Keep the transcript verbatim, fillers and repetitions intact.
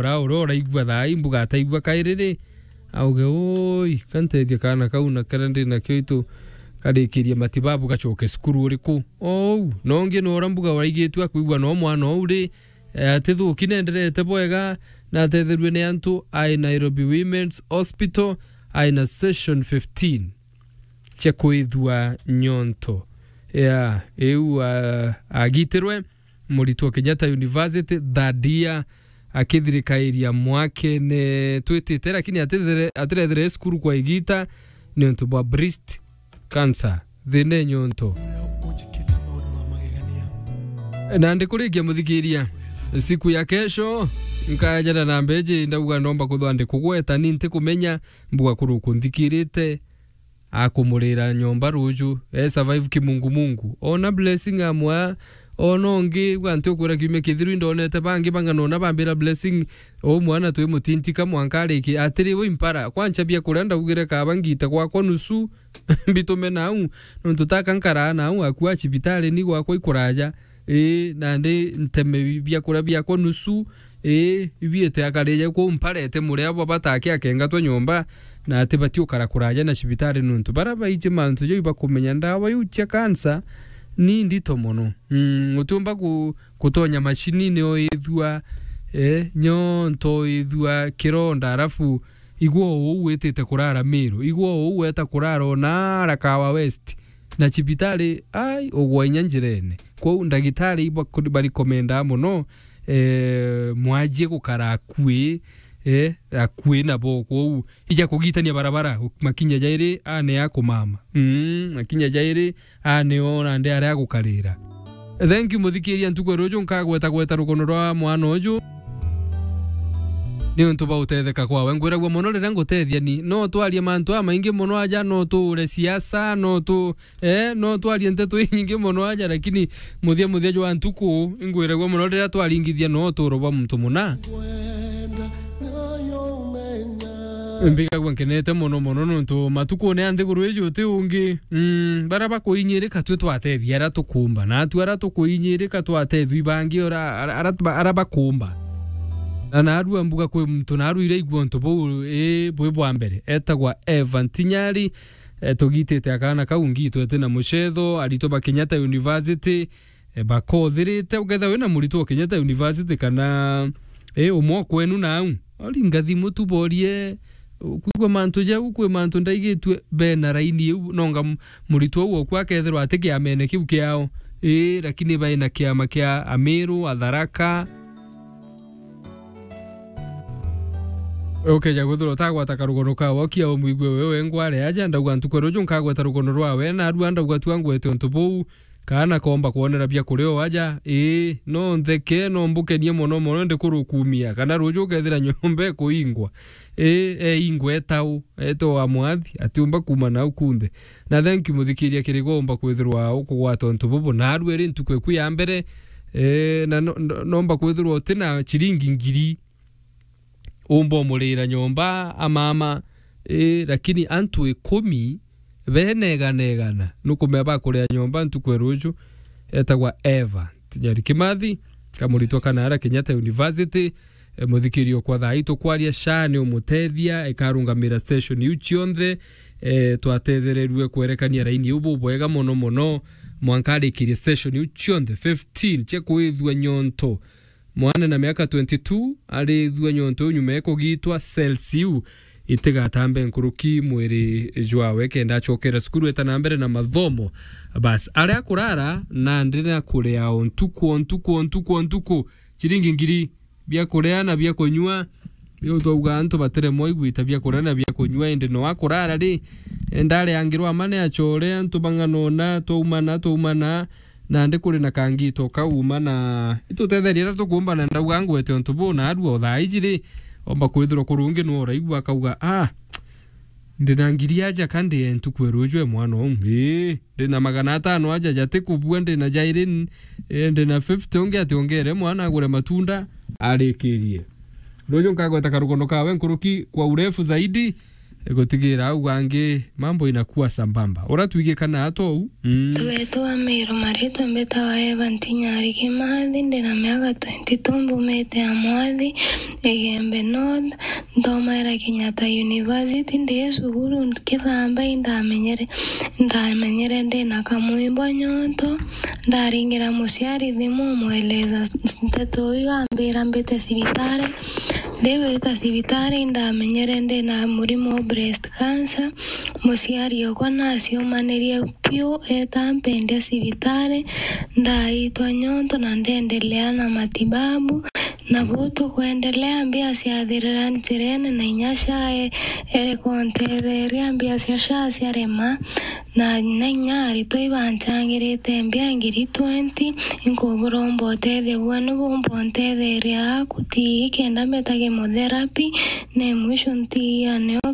ora, ora, ora, igua thaa ii, mbuga ataigua kairi ri, auge, "Oi, ka ntethie kaana kau na karia ndi nakio itu karikirie matibabu gacoke cukuru uriku?" Ou, no ungi no ora mbuga uraigitue akwigua no mwana ou ri, eh, atithuki nenderete bwega, na atetherue ni antu ai Nairobi Women's Hospital, ai na session fifteen cia kwithua nyonto. Ya, iu, ah, agitirwe, muritwo Kenyatta University, third year, akithirikairia mwakene twitite, lakini atithere-, atirethire cukuru kwa igita niuntu bwa breast cancer, thina e nyonto. Na ndikurikia muthikiria, siku ya kesho, nkajana na mbeji, ndauga ndomba kuthwa ndikugweta, ni ntikumenya, mbuga kuru kunthikirite, akumurira nyomba ruju, e survive kimungumungu. Ona Blessing amwa, ona ungi, gwa nti ukwira kiumia kithiru, indonete bangi bang'ana ona bambira Blessing, "O mwana twi mutintika mwanka ariki." Atiri, "Wi mpara, kwancha bia kuria ndaugire kaba ngite gwakwa nusu, mbitume nau, nontu taka nkaraa nau, akua cibitari ni gwakwa ikuraja." Ii, nandi nteme bi-, biakuria biakwa nusu, ii, ibiite akarije kuu mparete muria bwa batake akengatwa nyomba, na atibati ukara kuraja na cibitari nontu bara baiji mantu jau ibakumenya ndawa iu cia cancer ni ndito mono. Mm, utiumba ku-, kutonya macini nio ithua, eh, nyonto ithua kironda, arafu igua uu witite kurara Miru, igua uu weta kurara ona ara Kawa West. Na cibitari, ai, ugwa inya njirene. Kwou ndagitari iba-, barikomenda mono, eh, mwajie gukara akui, eh, akui nabo. Kwou ija kugitania barabara, makinya jairi, ane ya kumama. Mm, makinya jairi, ane o nandi aria agukarira. Thank you, muthikiria, ntuku ya ruju nkagweta gweta rugono rwa mwana uju. Niuntu bwa utetheka kwawe. Ngwiragua mono riria ngutethia ni. No twarie mantu amaingi mono aja, no tuure siasa, no tu-, eh, no twarie nteto inyingi mono aja, lakini muthia muthia jwa ntuku, ingwiragua mono riria twaringithia no uturo bwa muntu muna. Mbigagua nkenete mono mono nontu matukune a nthiguru iji uti ungi. Mm, bara bakuinyirika twi twatethia ara tukumba, na atu ara tukuinyirika twatethua ibangi ora, ara, ara, ara bakumba. Na narua mbuga kwi muntu narua iraigua untu buu, ii, bwi bwa mbere. Etagwa Eva Ntinyari, eh, tugitite akana kau ngitwe ti na mucetho, aritwa ba Kenyatta University, eh, bakothirite, ukethira wina muritwa wa Kenyatta University kana, eh, umwe o kwenu nau, ori ngathimu tu borie, kwigua mantu jau, kwi mantu ndaigitue bena raini iu, nonga m-, muritwa uu oku akethirwa ati kiamene kiu kiao, ii, lakini baina kiama kia Amiru, Atharaka. Ukeja kwithirwa utagwata karugono kawe, ukia umwigue we wengwa ari aja, ndauga ntuku ya ruju nkagweta rugono rwawe, narua ndauga tua ngwete untu buu, kana komba kwonera bia kuria o aja, ii, no ntheke, no mbukenie mono mono, ndi kurukumia, kana ruju ukethira nyomba ikuingwa, ii, eingwa etau, ete wa mwathi, atiumba kuma nau kunthe. Na thank you, muthikiria, kiri gomba kwithirwa ukugwata untu bubu, narua iri ntuku eku ya mbere, ee, na no-, no-, nomba kwithirwa uti na ciringi ngiri, umba umurira nyomba, amama, ii, lakini antu ikumi benegana egana nukumea bakuria nyomba ntuku ya ruju, etagwa Eva Tinyari Kimathi, kamuritwa kana ara Kenyatta University. E, muthikirio kwa thaa ii tukwaria, SHA ni umutethia, ikarungamira station iu cionthe. E, twatethererue kwerekania raini iu bubwega mono mono, mwanka arikirie station iu cionthe fifteen cia kwithua nyonto. Mwana na miaka twenty-two arithua nyonto iu nyuma ya kugitwa cells iu itigatambe nkuruki mwiri jwawe kenda acokera cukuru eta na mbere na mathomo. Bas, aria kurara nandi na kuria o ntuku o ntuku o ntuku o ntuku, ciringi ngiri, bia kuria na bia kunyua. Riu twauga antu batiremwa igwita bia kuria na bia kunyua, indi no akurara ri, e, ndareangirwa ama ni acore, antu bang'anona, twaumana, twaumana, nandi kuri na kangito kauma na itutetheria iria tukumba, na ndauga ngwete untu buu, na arua o thaa iji ri, omba kwithirwa kuri ungi nwe uraigua akauga, "Ah, ndi na ngiri aja ka ndi e ntuku e ruju e mwana uu, ii, ndi na magana atano aja jatikubua, ndi na jairi, ii, ndi na fifty, ungi ati ongere mwana agure matunda arikirie." Ruju nkagweta karugono kawe nkuruki kwa urefu zaidi, Gutigira au gangi, mambo inakuwa sambamba. Uratwigikana atou? Mm. Wetu wa Meru, maritwa mbitawa Eva Ntinyari Kimathi, ndina miaka twenty-two, mbumite Amwathi, Igembe North, nthomaira Kenyatta University, ndi cukuru nkithamba, indamenyere, ndamenyere ndina kamwimbo nyonto, ndaringira muciari thimu, mweleza nteto iu, ambira mbite cibitari. Ndiwita cibitari, indamenyere ndina murimo wa breast cancer. Muciari okwa naciumanirie piu, eta mpendia cibitari, ndaitwa nyonto na ndendelea na matibabu. Na buu tukwendelea, mbia ciathirira njirene, na inya SHA e-, ereka untetheria, mbia cia SHA ciarema, na, na inya aritwa ibancangirite mbia ngiri twenty, inkuburomba utethio bwenu bumba untetheria aku, ti kenda mbeta chemotherapy, ne mwisho ntiia nio